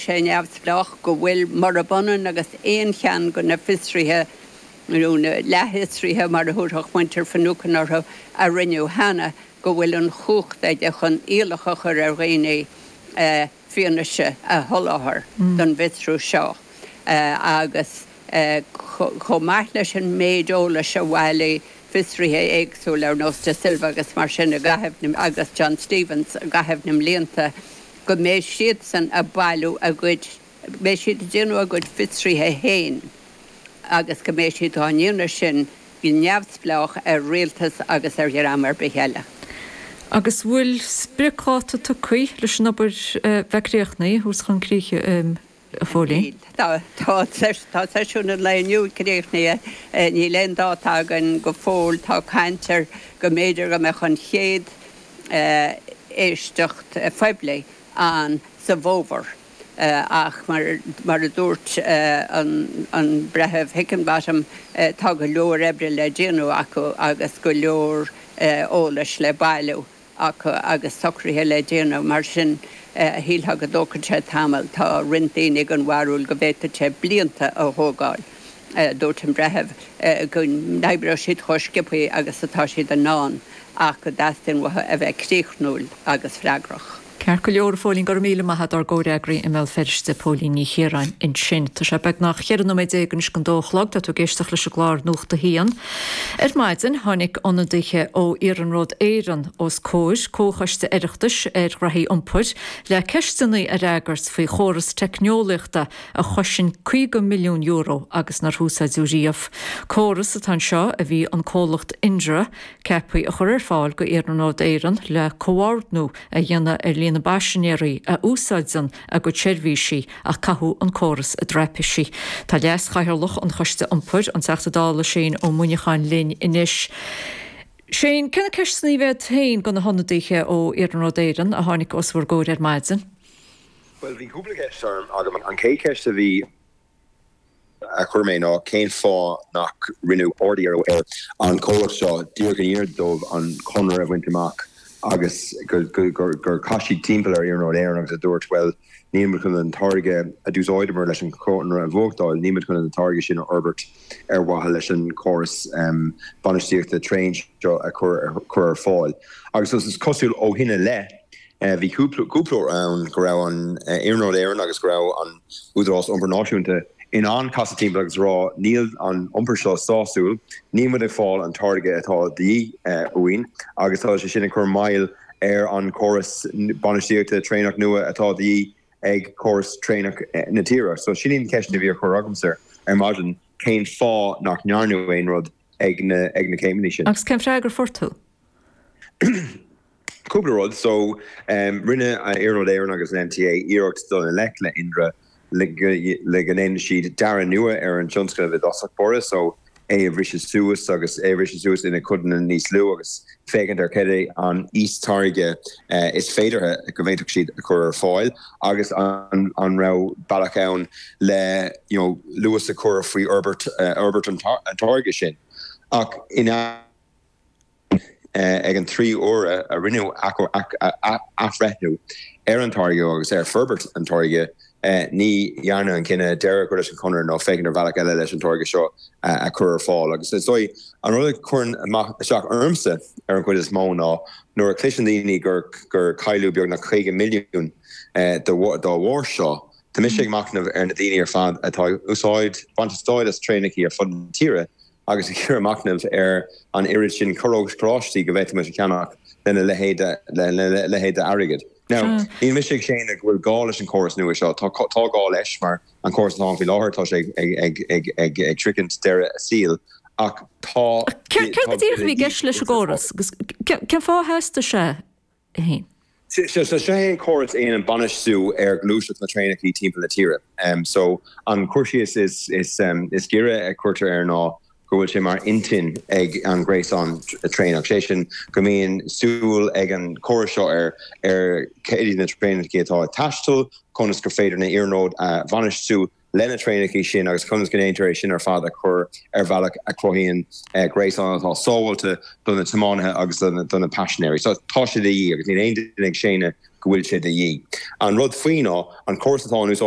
sé neamhspleách, go bhfuil, murab ionann agus aon cheann de na fiosruithe, nó na leathfhiosruithe mar a thabharfadh muintir Finucane orthu, a rinneadh cheana, go bhfuil an chumhacht aige chun iallach a chur ar dhaoine fianaise a sholáthar don bhfiosrú seo agus chomh maith leis an méid eolais a bhailigh fiosruithe éagsúla ar nós De Silva agus mar sin i gcaitheamh na, agus John Stephens i gcaitheamh na mblianta, go mbeidh siadsan ag bailiú a gcuid, mbeidh siad ag déanamh a gcuid fiosruithe féin agus go mbeidh siad á ndéanamh sin go neamhspleách ar rialtas agus ar dhream ar bith eile. Agus bhfuil spriocdháta tugtha leis an obair bheith críochnaithe, a thabhairt chun críche? a Phóilín? Tá seisiún an lae inniu críochnaithe. Níl aon dáta againn go fóill. Tá caint ar go mb'fhéidir go mbeadh an chéad éisteacht phoiblí ann sa bhfómhar ach mar a dúirt an Breitheamh Hickinbottom tá go leor oibre le déanamh acu agus go leor eolais le bailiú. acu agus socruithe le déanamh, mar sin shílfeá go dtógfadh sé tamall. Tá roinnt daoine den bharúil go bhféadfadh sé blianta a thógáil. Dúirt an Breitheamh go n-oibreoidh siad chomh sciobtha agus atá siad in ann ach go dteastaíonn uathu a bheith críochnúil agus freagrach. Ceart go leor, a Phóilín, go raibh míle maith a't, ár gcomhfhreagraí i mBéal Feirste, Póilín Ní Chiaráin ansin. Tá sé beagnach 14 nóiméad anois don dó a chlog, tá tú ag éisteacht leis an gclár Nuacht a hAon. Ar maidin, tháinig ionadaithe ó Iarnród Éireann os comhair Comhchoiste Oireachtais ar Ghraithí Iompair le ceisteanna a fhreagairt faoi chóras teicneolaíochta a chosain €50 milliún agus nár húsáideadh riamh. Córas atá anseo a bhí an comhlacht Indra ceaptha a chur ar fáil go Iarnród Éireann le comhordnú a dhéanamh ar líon na bpaisinéirí a úsáideann a gcuid seirbhísí ach caitheadh an córas i dtraipisí. Tá Leas-Chathaoirleach an Choiste Iompair, an Teachta Dála Shane Ó Muineacháin linn anois. Shane, cé na ceisteanna a bhí agat féin do na hionadaithe ó Iarnród Éireann a tháinig os bhur gcomhair ar maidin? Bhuel, bhí cúpla ceist agam. An chéad cheist a bhí. a chuir mé ná cén fáth nach rinneadh ard-iarraidh ar an chomhlacht seo díreach i ndiaidh dóibh an conradh a bhaint amach agus gur chas siad timpeall ar Iarnród Éireann agus a dúirt bhuel níl muid chun an táirge a d'úsáideamar leis an chonradh a bhuachtáil, níl muid chun an táirge sin a fhorbairt ar mhaithe leis an chóras bainistíochta traein seo a chur ar fáil. Agus is cosúil ó shin i leith Bhí cúpla uair ann go raibh an Iarnród Éireann agus go raibh an Údarás Iompair Náisiúnta in ann casadh timpeall agus rá níl an iompar seo sásúil, níl muid ag fáil an táirge atá de dhíth uainn agus tá sé sin ag cur moill ar an chóras bainistíochta traenach nua atá de dhíth ag córas traenach na tíre. So sin iad na ceisteanna a bhí á chur agamsa ar maidin, cén fáth nach ndearnadh aon rud ag na céimeanna sin? Agus cén freagra a fuair tú? Cúpla rud. So, rinne Iarnród Éireann agus an NTA iarracht dul i ngleic le Indra le go ndéanfaidh siad dearadh nua ar an tionscnamh i dtosach báire, so é a bhriseadh suas agus é a bhriseadh suas ina codanna níos lú agus féachaint ar cad é an íostáirge is féideartha go bhféadfadh siad a chur ar fáil agus an raibh bealach ann le you know luas a chur faoi fhorbairt fhorbairt an táirge sin. Ach ina. Ag an 3 huaire a rinneadh athbhreithniú ar an táirge agus ar forbairt an táirge, ní dhearnadh an cinneadh deireadh a chur leis an chonradh nó féachaint ar bhealach eile leis an táirge seo a chur ar fáil. Agus is dóigh, an rud a chuireann isteach ormsa ar an chuid is mó ná nuair a chloiseann daoine gur cailleadh beagnach 50 milliún dá bharr seo, tá mise ag machnamh ar na daoine ar fad atá ag úsáid, baint úsáid as traenacha ar fud na tíre agus ag iarraidh machnamh ar an oiread sin carráistí go bhféadfadh muid a cheannach lena leithéid d'airgead. Now, níl mise ag séanadh go bhfuil gá leis an chóras nua seo. Tá gá leis mar an córas atá ann faoi láthair, tá sé ag sroichint deireadh a saoil ach tá. Céard go díreach a bhí i gceist leis an gcóras agus cén fáth a theastaigh sé? 1. So seo é an córas a dhéanann bainistiú ar ghluaiseacht na traenacha timpeall na tíre. So an cur síos is is giorra a chuirtear air ná go bhfuil sé mar intinn ag an ghréasán traenach, sé sin go mbíonn súil ag an chóras seo ar ar cé hiad na traenacha atá ag taisteal, conas gur féidir na iarnróid a bhainistiú, le na traenacha sin agus conas go ndéantar é sin ar fad a chur ar bhealach a chruthaíonn gréasán atá sábháilte do na tiománaithe agus do na paisinéirí. So tá sé de dhíth agus níl aon duine ag séanadh go bhfuil sé de dhíth. An rud faoi ná an córas atá in úsáid.